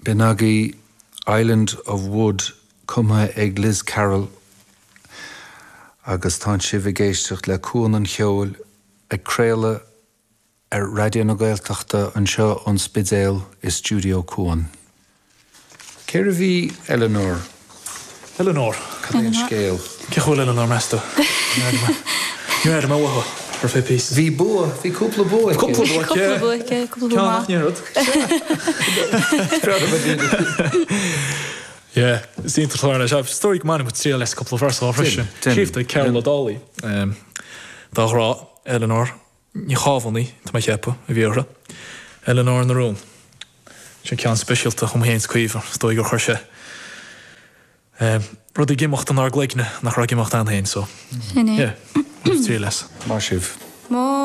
B'in agaibh Island of Wood cumtha ag Liz Carroll agus tánn sibh ag éisteacht le Cuan an Cheoil ag craoladh ar Raidió na Gaeltachta anseo ón Spidéal i Stiúideo Cuan. Cérbh í Eleanor? Eleanor. Cad é an scéal? Cén chaoi a bhfuil Eleanor, meas tú? Níor airigh mé uaithi ar feadh píosa. Bhí bua, bhí cúpla bua aici. Cúpla bua aici. Cúpla bua aici, cúpla bua maith. Ceann nach rud. Yeah, is iontach an clár é. Is dóigh go mbainfidh muid triail as cúpla véarsa dhó freisin. Scríofa ag Cearbhall Ó Dálaigh dá ghrá, Eleanor Ní Chábhánaigh, tá mé ag ceapadh, a bhí uirthi. Eleanor na Rún. Sin ceann speisialta dhom féin is Caoimhe. Is dóigh gur chuir sé rud ag imeacht inár gcloigne nach raibh ag imeacht ann féin so Sin é. yeah, bhain triail as. Maith sibh. Mo.